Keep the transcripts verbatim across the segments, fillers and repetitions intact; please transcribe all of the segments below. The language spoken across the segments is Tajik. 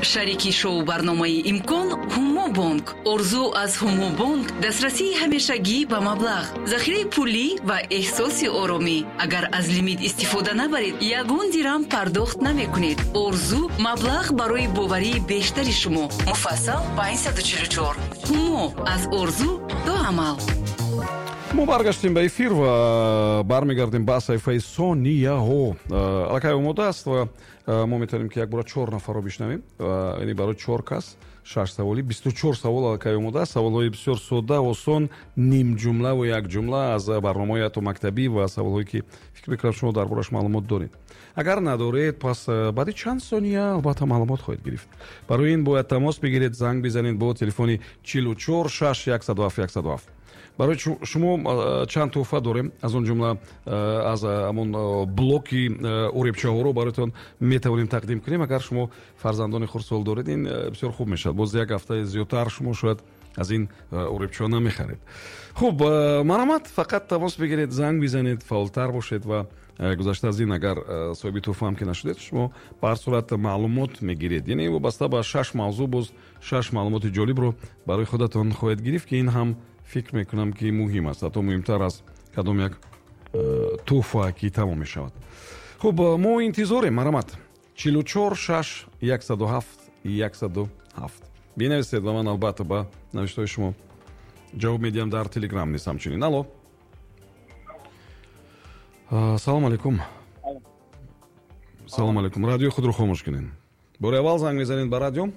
Шарики шоу барномаи «Имкон» Ҳумобонк. Орзу аз Ҳумобонк дастрасии ҳамешагӣ ба маблағ, захираи пулӣ ва эҳсоси оромӣ. Агар аз лимит истифода набаред, ягон дирам пардохт намекунед. Орзу маблағ барои боварии бештари шумо. Муфассал панҷсаду чилу чор. Ҳумо аз орзу то амал. Мо баргаштем ба эфир ва бармегардем ба саҳифаи сонияҳо. Аллакай омода аст ва мо метавонем, ки якбора чор нафарро бишнавем, яъне барои чор кас шаш саволи, бисту чор савол аллакай омода аст. Саволҳои бисёр содда, осон, нимҷумлаву якҷумла аз барномаҳои ҳатто мактабӣ ва саволҳое, ки фикр мекунам, шумо дар бораш маълумот доред. Агар надоред, пас баъди чанд сония албатта маълумот хоҳед гирифт. Барои ин бояд тамос бигиред, занг бизанед бо телефони чилу чор шаш яксаду ҳафт яксаду ҳафт. Барои шумо чанд тӯҳфа дорем, аз он ҷумла аз ҳамон блоки уребчаҳоро бароятон метавонем тақдим кунем. Агар шумо фарзандони хурдсол доред, ин бисёр хуб мешавад. Боз як ҳафтаи зиёдтар шумо шояд аз ин уребчаҳо намехаред. Хуб, марҳамат, фақат тамос бигиред, занг бизанед, фаъолтар бошед. Ва гузашта аз ин, агар соҳиби тӯҳфаам ки нашудед, шумо ба ҳар сурат маълумот мегиред, яъне вобаста ба шаш мавзӯъ боз шаш маълумоти ҷолибро барои худатон хоҳед гирифт, ки ин ҳам фикр мекунам, ки муҳим аст, ҳатто муҳимтар аз кадом як э, тӯҳфа ки тамом мешавад. Хуб, мо интизорем. Марҳамат, чилу чор шаш яксаду ҳафт яксаду ҳафт бинависед ва ман албатта ба навиштаҳои шумо ҷавоб медиҳам дар Телеграм низ ҳамчунин. Алло, салом алейкум. Салом алейкум. Радиои худро хомӯш кунед. Бори аввал занг мезанед ба радио?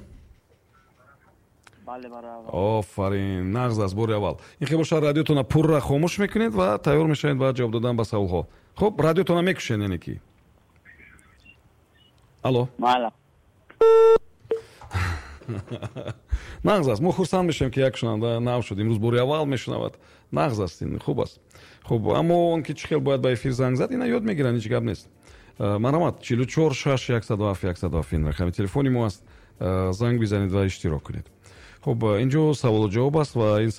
Офарин, нағз аст, бори аввал. Ин хел бошад, радиотона пурра хомӯш мекунед ва тайёр мешавед ба ҷавоб додан ба саволҳо. Хуб, радиотона мекушед, яъне ки? Алло. Нағз аст, мо хурсанд мешавем, ки як шунаванда нав шуд, имрӯз бори аввал мешунавад. Нағз аст, ин хуб аст. Хуб, аммо он ки чӣ хел бояд ба эфир занг зад, ина ёд мегиранд, ҳеҷ гап нест. Марҳамат, чилу чор шаш яксаду ҳафт яксаду ҳафт, ин рақами телефони мо аст. Занг бизанед ва иштирок кунед. Хуб, инҷо саволу ҷавоб аст ва ин